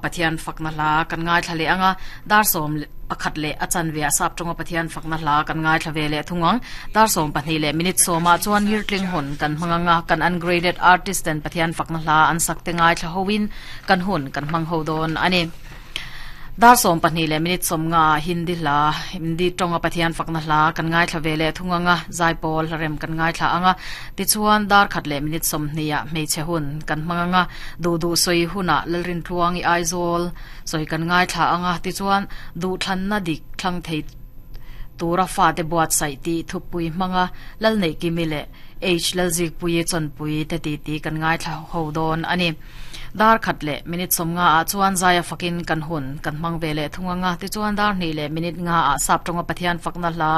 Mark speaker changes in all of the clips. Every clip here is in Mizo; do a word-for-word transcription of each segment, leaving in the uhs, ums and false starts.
Speaker 1: Pathian fakna hla kan ngaithla leh anga dar sawm pakhat leh a chanve ah sap tawnga Pathian fakna hla kan ngaithla ve leh thung ang. Dar sawm pahnih leh minute sawmah chuan Ngirtling hun kan hmang anga kan ungraded artist ten Pathian fakna hla an sak te ngaithla hoin kan hun kan hmang ho dawn a ni. Dar sawm pahnih leh minute sawm nga Hindi hla Hindi tawnga Pathian fakna hla kan ngaithla ve leh thung anga zaipawl hlarem kan ngaithla anga tichuan dar khat leh minute sawm hnih ah hmeichhe hun kan hmang anga duh duh sawi hunah Lalrin Tluangi Aizawl sawi kan ngaithla anga tichuan duh thlanna dik thlang thei tura fate buatsaih tih thupui hmanga Lalneihkimi leh H Lalzikpuii chawnpui te ti ti kan ngaithla ho dawn a ni. Dar khat leh minute sawm nga ah chuan zaia fakin kan hun kan hmang ve leh thung anga tichuan dar hnih leh minute nga ah sap tawnga Pathian fakna hla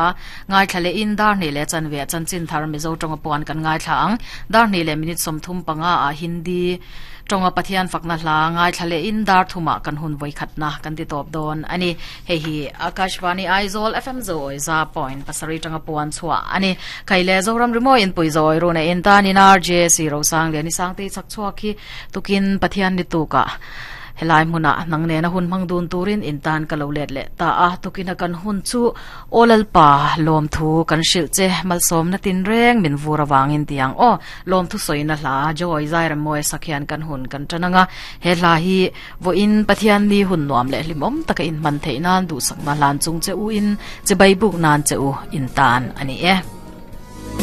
Speaker 1: ngaithla leh in dar hnih leh chanve ah chanchin thar Mizo tawnga puan kan ngaithla ang. Dar hnih leh minute sawm thum panga ah Hindi tawnga Pathian fakna hla ngaithla leh in dar thumah kan hun vawi khatna kan ti tawp dawn a ni. Hei hi Akashvani Aizawl F M Zawi za point pasarih tanga puan chhuah a ni. Khai le Zoram Rimawi inpui zawi runa in tanin R J C Rosang Liani Sangtei chak chhuak hi tukin Pathian ni tukah helai hmunah nang nena hun hmang dun turin in tan ka lo let leh ta a tukina kan hun chu Aw Lalpa lawm thu kan hrilh che malsawm na tin reng min vur awangin tiang aw lawm thu sawina hla Joy Zairemawi sakhian kan hun kan tananga he hla hi vo in Pathian ni hun nuam leh hlimawm taka in hman theih nan duhsakna hlan chung che u in che bai buk nan che u in tan ani e.